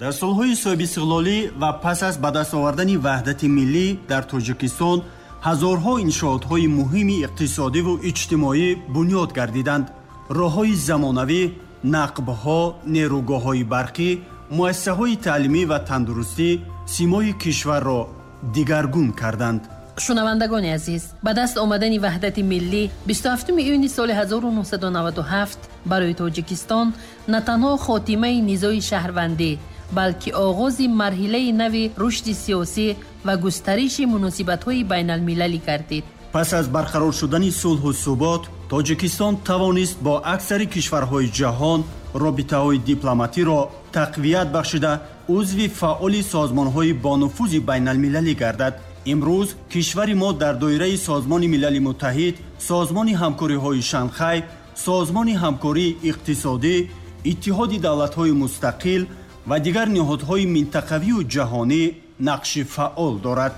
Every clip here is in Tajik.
Дар солҳои соҳибистиқлолӣ ва пас аз ба даст овардани ваҳдати миллӣ дар Тоҷикистон ҳазорҳо иншоотҳои муҳими иқтисодиву иҷтимоӣ бунёд гардиданд. Роҳҳои замонавӣ, нақбҳо, нерӯгоҳҳои барқӣ, муассисаҳои таълимӣ ва тандурустӣ симои кишварро дигаргун карданд. Шунавандагони азиз, ба даст омадани ваҳдати миллӣ 27 июни соли 1997 барои Тоҷикистон на танҳо хотимаи низои шаҳрвандӣ, балки оғози марҳилаи нави рушди сиёсӣ ва густариши муносибатҳои байналмилалӣ гардид. Пас аз барқарор шудани сулҳу субот, Тоҷикистон тавонист бо аксари кишварҳои ҷаҳон робитаҳои дипломатиро тақвият бахшида, узви фаъоли созмонҳои бонуфузи байналмилалӣ гардад. Имрӯз кишвари мо дар доираи Созмони Милали Муттаҳид, Созмони ҳамкориҳои Шанхай, Созмони ҳамкории иқтисодӣ, Иттиҳоди давлатҳои мустақил ва дигар ниҳодҳои минтақавию ҷаҳонӣ нақши фаъол дорад.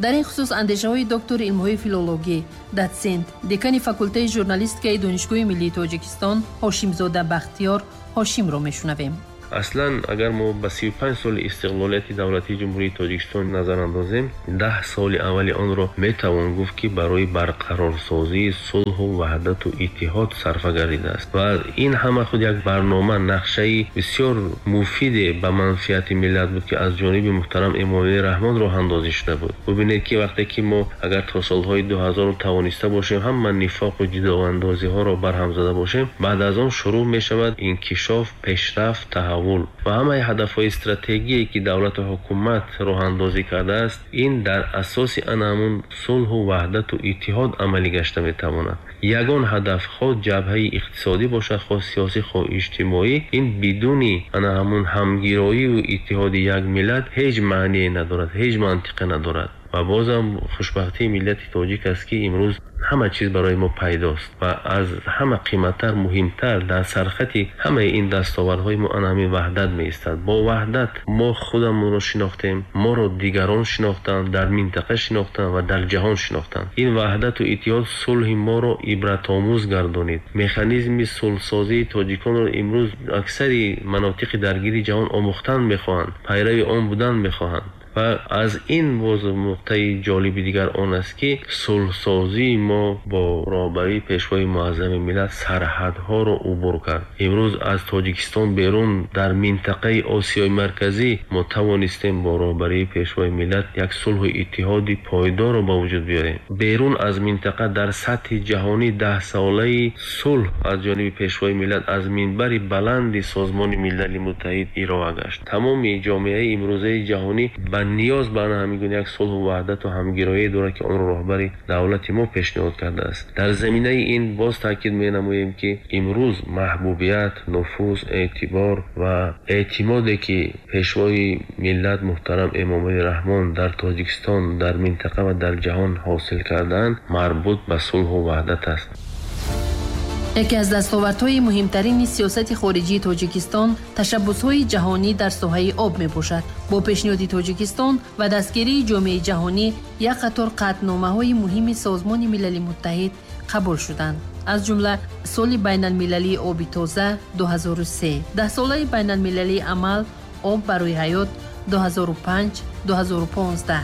Дар ин хусус андешаҳои доктори илмҳои филологӣ, дотсент, декани факултаи журналистикаи Донишгоҳи миллии Тоҷикистон Ҳошимзода Бахтиёр Ҳошимро мешунавем. Аслан агар мо ба 35 соли истиқлолияти давлатии Ҷумҳурии Тоҷикистон назар андозем, 10 соли аввали онро метавон гуфт, ки барои барқарорсозии сулҳу ваҳдату иттиҳод сарфа гардидааст ва ин ҳама худ як барнома, нақшаи бисёр муфиде ба манфиати миллат буд, ки аз ҷониби муҳтарам Эмомалӣ Раҳмон роҳандозӣ шуда буд. Бубинед, ки вақте ки мо агар то солҳои 2000 тавониста бошем ҳама нифоқу ҷудоандозиҳоро барҳам зада бошем, баъд аз он шурӯъ мешавад инкишоф, пешрафт, таҳаввул ва ҳамаи ҳадафҳои стратегие, ки давлату ҳукумат роҳандозӣ кардааст, ин дар асоси ана ҳамун сулҳу ваҳдату иттиҳод амалӣ гашта метавонад. Ягон ҳадаф, хоҳ ҷабҳаи иқтисодӣ бошад, хоҳ сиёсӣ, хоҳ иҷтимоӣ, ин бидуни ана ҳамун ҳамгироию иттиҳоди як миллат ҳеҷ маъние надорад, ҳеҷ мантиқе надорад. Ва бозам хушбахтии миллати тоҷик аст, ки имрӯз ҳама чиз барои мо пайдост ва аз ҳама қиматтар, муҳимтар дар сархати ҳамаи ин дастовардҳои мо ана ҳамин ваҳдат меистад. Бо ваҳдат мо худамонро шинохтем, моро дигарон шинохтанд, дар минтақа шинохтанд ва дар ҷаҳон шинохтанд. Ин ваҳдату иттиҳод сулҳи моро ибратомӯз гардонид. Механизми сулҳсозии тоҷиконро имрӯз аксари манотиқи даргири ҷаҳон омӯхтан мехоҳанд, пайрави он будан мехоҳанд. Ва аз ин боз нуқтаи ҷолиби дигар он аст, ки сулҳсозии мо бо роҳбарии Пешвои муаззами миллат сарҳадҳоро убур кард. Имрӯз аз Тоҷикистон берун дар минтақаи Осиёи Марказӣ мо тавонистем бо роҳбарии Пешвои миллат як сулҳу иттиҳоди пойдорро ба вуҷуд биёрем. Берун аз минтақа дар сатҳи ҷаҳонӣ 10-солаи сулҳ аз ҷониби Пешвои миллат аз минбари баланди Созмони Милали Муттаҳид ироа гашт. Тамоми ҷомеаи имрӯзаи ҷаҳонӣ ба ниёз ба ана ҳамин гуна як сулҳу ваҳдату ҳамгироие дорад, ки онро роҳбари давлати мо пешниҳод кардааст. Дар заминаи ин боз таъкид менамоем, ки имрӯз маҳбубият, нуфуз, эътибор ва эътимоде, ки Пешвои миллат муҳтарам Эмомалӣ Раҳмон дар Тоҷикистон, дар минтақа ва дар ҷаҳон ҳосил кардаанд, марбут ба сулҳу ваҳдат аст. Яке аз дастовардҳои муҳимтарини сиёсати хориҷии Тоҷикистон ташаббусҳои ҷаҳонӣ дар соҳаи об мебошад. Бо пешниҳоди Тоҷикистон ва дастгирии ҷомеаи ҷаҳонӣ як қатор қатъномаҳои муҳими Созмони Милали Муттаҳид қабул шуданд. Аз ҷумла соли байналмилалии оби тоза 2003, 10-солаи байналмилалии амал об барои ҳаёт 2005 2015,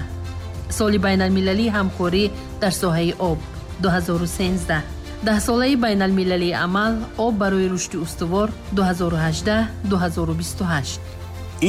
соли байналмилалии ҳамкорӣ дар соҳаи об 2013, 10-солаи байналмилалии амал об барои рушди устувор 2018 2028.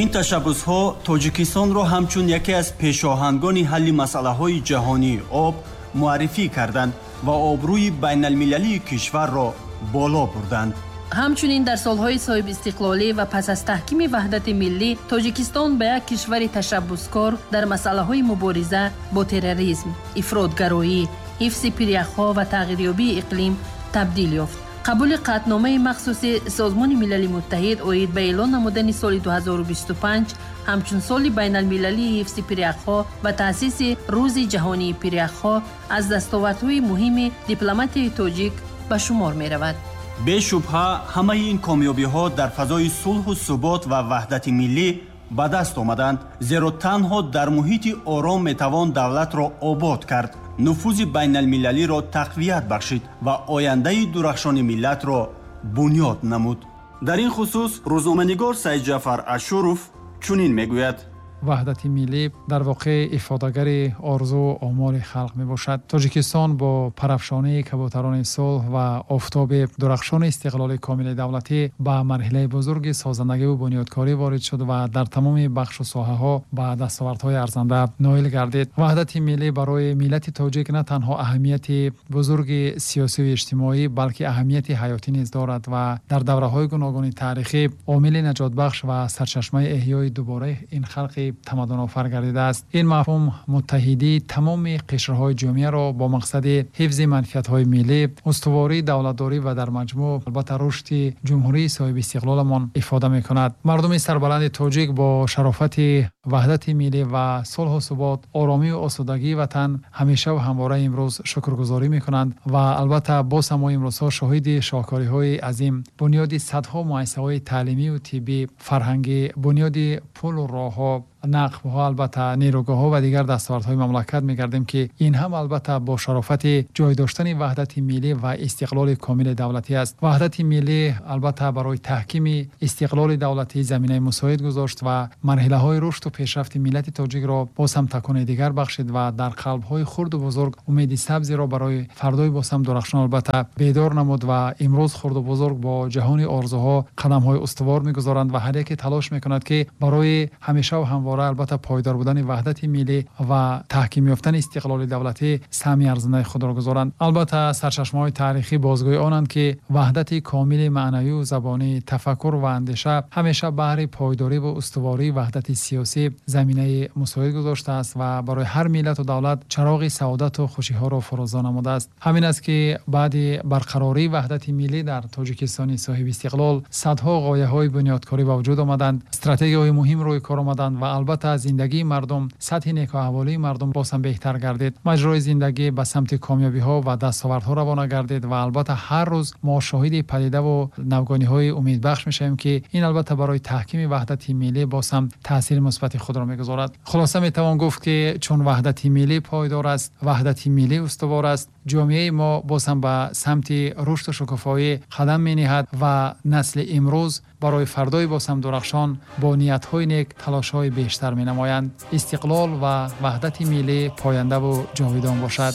Ин ташаббусҳо Тоҷикистонро ҳамчун яке аз пешоҳангони ҳалли масъалаҳои ҷаҳонии об муаррифӣ карданд ва обрӯи байналмилалии кишварро боло бурданд. Ҳамчунин дар солҳои соҳибистиқлолӣ ва пас аз таҳкими ваҳдати миллӣ Тоҷикистон ба як кишвари ташаббускор дар масъалаҳои мубориза бо терроризм, ифротгароӣ, ҳифзи пиряхҳо ва тағйирёбии иқлим табдил ёфт. Қабули қатъномаи махсуси Созмони Милали Муттаҳид оид ба эълон намудани соли 2025 ҳамчун соли байналмилалии ҳифзи пиряхҳо ва таъсиси Рӯзи ҷаҳонии пиряхҳо аз дастовардҳои муҳими дипломатияи тоҷик ба шумор меравад. Бешубҳа, ҳамаи ин комёбиҳо дар фазои сулҳу субот ва ваҳдати миллӣ ба даст омаданд, зеро танҳо дар муҳити ором метавон давлатро обод кард, нуфузи байналмилалиро тақвият бахшид ва ояндаи дурахшони миллатро бунёд намуд. Дар ин хусус рӯзноманигор Саидҷафар Ашуров Чунин мегӯяд: Ваҳдати миллӣ дар воқеъ ифодагари орзуу омоли халқ мебошад. Тоҷикистон бо парафшонии кабӯтарони сулҳ ва офтоби дурахшони истиқлоли комили давлатӣ ба марҳилаи бузурги созандагиву бунёдкорӣ ворид шуд ва дар тамоми бахшу соҳаҳо ба дастовардҳои арзанда ноил гардид. Ваҳдати миллӣ барои миллати тоҷик на танҳо аҳамияти бузурги сиёсиву иҷтимоӣ, балки аҳамияти ҳаётӣ низ дорад ва дар давраҳои гуногуни таърихӣ омили наҷотбахш ва сарчашмаи эҳёи дубораи ин халқи тамаддунофар гардидааст. Ин мафҳум муттаҳидии тамоми қишрҳои ҷомеаро бо мақсади ҳифзи манфиатҳои миллӣ, устувории давлатдорӣ ва дар маҷмӯъ албатта рушди ҷумҳурии соҳибистиқлоламон ифода мекунад. Мардуми сарбаланди тоҷик бо шарофати ваҳдати миллӣ ва сулҳу субот, оромию осудагии ватан ҳамешаву ҳамвора имрӯз шукргузорӣ мекунанд ва албатта боз ҳам мо имрӯзҳо шоҳиди шоҳкориҳои азим, бунёди садҳо муассисаҳои таълимию тиббӣ, фарҳангӣ, бунёди пулу роҳҳо, нақбҳо, албатта нерӯгоҳҳо ва дигар дастовардҳои мамлакат мегардем, ки ин ҳам албатта бо шарофати ҷой доштани ваҳдати миллӣ ва истиқлоли комили давлатӣ аст. Ваҳдати миллӣ албатта барои таҳкими истиқлоли давлатӣ заминаи мусоид гузошт ва марҳилаҳои рушду пешрафти миллати тоҷикро боз ҳам такони дигар бахшид ва дар қалбҳои хурду бузург умеди сабзеро барои фардои боз ҳам дурахшон албатта бедор намуд ва имрӯз хурду бузург бо ҷаҳони орзуҳо қадамҳои устувор мегузоранд ва ҳар яке талош мекунад, ки барои ҳамешаву ҳамвора албатта пойдор будани ваҳдати миллӣ ва таҳким ёфтани истиқлоли давлатӣ саҳми арзандаи худро гузоранд. Албатта сарчашмаҳои таърихӣ бозгӯи онанд, ки ваҳдати комили маънавию забонӣ, тафаккур ва андеша ҳамеша баҳри пойдорӣ ва устувории ваҳдати сиёсӣ заминаи мусоид гузоштааст ва барои ҳар миллату давлат чароғи саодату хушиҳоро фурӯзон намудааст. Ҳамин аст, ки баъди барқарории ваҳдати миллӣ дар Тоҷикистони соҳибистиқлол садҳо ғояҳои бунёдкорӣ ба вуҷуд омаданд, стратегияҳои муҳим рӯи кор омаданд ва албатта зиндагии мардум, сатҳи некуаҳволии мардум боз ҳам беҳтар гардид. Маҷрои зиндагӣ ба самти комёбиҳо ва дастовардҳо равона гардид ва албатта ҳар рӯз мо шоҳиди падидаву навгониҳои умедбахш мешавем, ки ин албатта барои таҳкими ваҳдати миллӣ боз ҳам таъсири мусбати худро мегузорад. Хулоса, метавон гуфт, ки чун ваҳдати миллӣ пойдор аст, ваҳдати миллӣ устувор аст, ҷомеаи мо боз ҳам ба самти рушду шукуфоӣ қадам мениҳад ва насли имрӯз барои фардои боз ҳам дурахшон бо ниятҳои нек талошҳои бештар менамоянд. Истиқлол ва ваҳдати миллӣ пояндаву ҷовидон бошад.